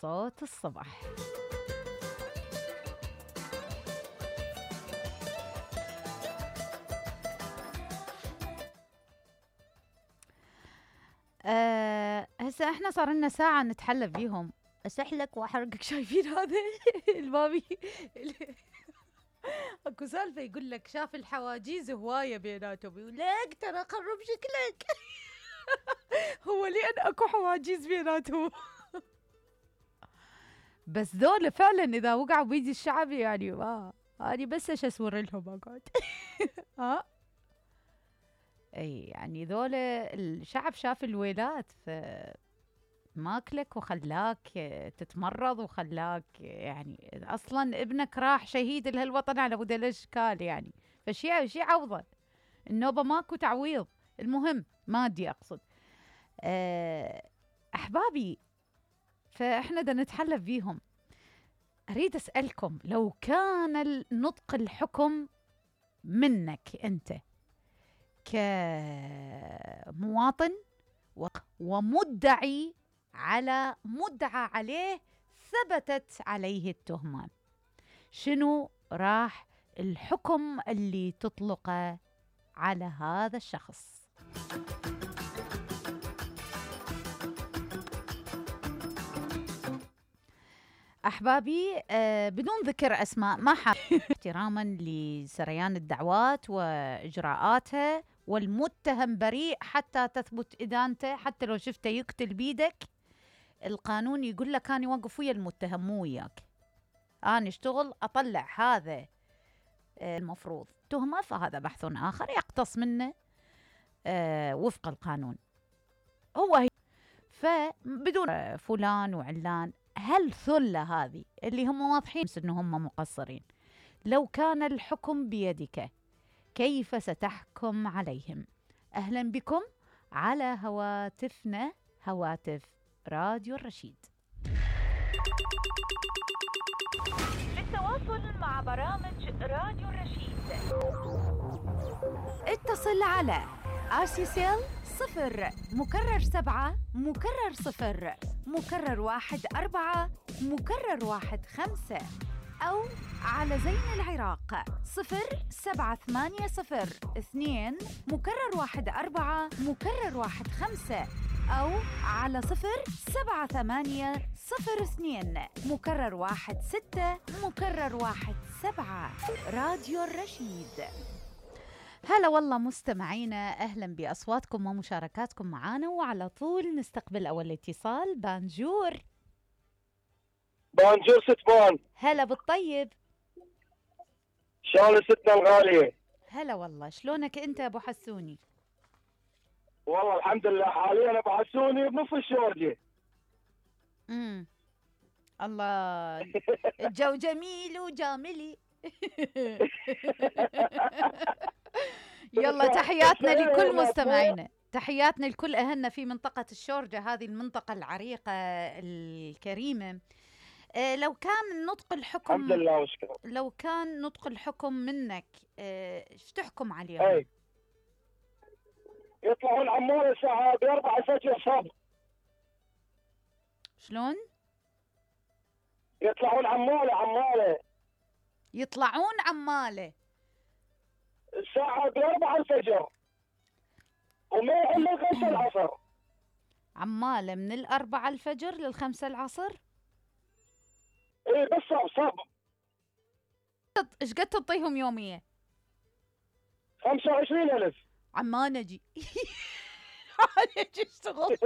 صوت الصبح. هسه احنا صار لنا ساعة نتحلى فيهم، اسحلك واحرقك. شايفين هذا البابي؟ اكو سالفة يقول لك شاف الحواجيز هواية بيناتهم، يقول لك ترى قرب شكلك. هو لين اكو حواجيز بيناتهم. بس ذولا فعلا اذا وقعوا بيدي الشعب يعني ما هذه بس ايش اسور لهم اقعد. ها اي يعني ذولا الشعب شاف الويلات ماكلك وخلاك تتمرض وخلاك يعني اصلا ابنك راح شهيد لهالوطن على مود الاشكال يعني، فشي عوضه النوبه ماكو تعويض. المهم مادي اقصد. احبابي فاحنا بدنا نتحلف فيهم. اريد اسالكم لو كان نطق الحكم منك انت كمواطن ومدعي على مدعى عليه ثبتت عليه التهمة، شنو راح الحكم اللي تطلقه على هذا الشخص؟ أحبابي بدون ذكر أسماء ما احتراما لسريان الدعوات وإجراءاتها، والمتهم بريء حتى تثبت إدانته، حتى لو شفته يقتل بيدك القانون يقول لك أنا يوقف ويا المتهم مو وياك، أنا اشتغل أطلع هذا المفروض تهمة، فهذا بحث آخر يقتص منه وفق القانون. هو فبدون فلان وعلان، هل ثلة هذه اللي هم واضحين أنهم مقصرين لو كان الحكم بيدك كيف ستحكم عليهم؟ أهلا بكم على هواتفنا، هواتف راديو الرشيد. للتواصل مع برامج راديو الرشيد اتصل على RCCL 0 مكرر 7 مكرر 0 مكرر 1 4 مكرر 1 5 أو على زين العراق 07802 مكرر 1 4 مكرر 1 5 أو على 07802 مكرر 1 6 مكرر 1 7. راديو الرشيد. هلا والله مستمعينا، أهلا بأصواتكم ومشاركاتكم معانا، وعلى طول نستقبل أول اتصال. بانجور. بانجور ستبان. هلا بالطيب. شلون ستنا الغالية؟ هلا والله، شلونك أنت أبو حسوني؟ والله الحمد لله، حاليا أبو حسوني بنص الشورجة. الله. الجو جميل وجاملي. يلا تحياتنا لكل مستمعينا، تحياتنا لكل أهلنا في منطقة الشورجة، هذه المنطقة العريقة الكريمة. لو كان نطق الحكم الحمد لله وشكرا، لو كان نطق الحكم منك ايش تحكم عليهم؟ اي يطلعون عمالة الساعة ب4 الفجر صبح. شلون؟ يطلعون عمالة يطلعون عمالة الساعة ب4 الفجر وما يحل ل5 العصر. عمالة من 4 الفجر ل5 العصر؟ ايه بس صب. ايش قد تعطيهم يومية؟ 25,000. عمان اجي. اجي اشتغل.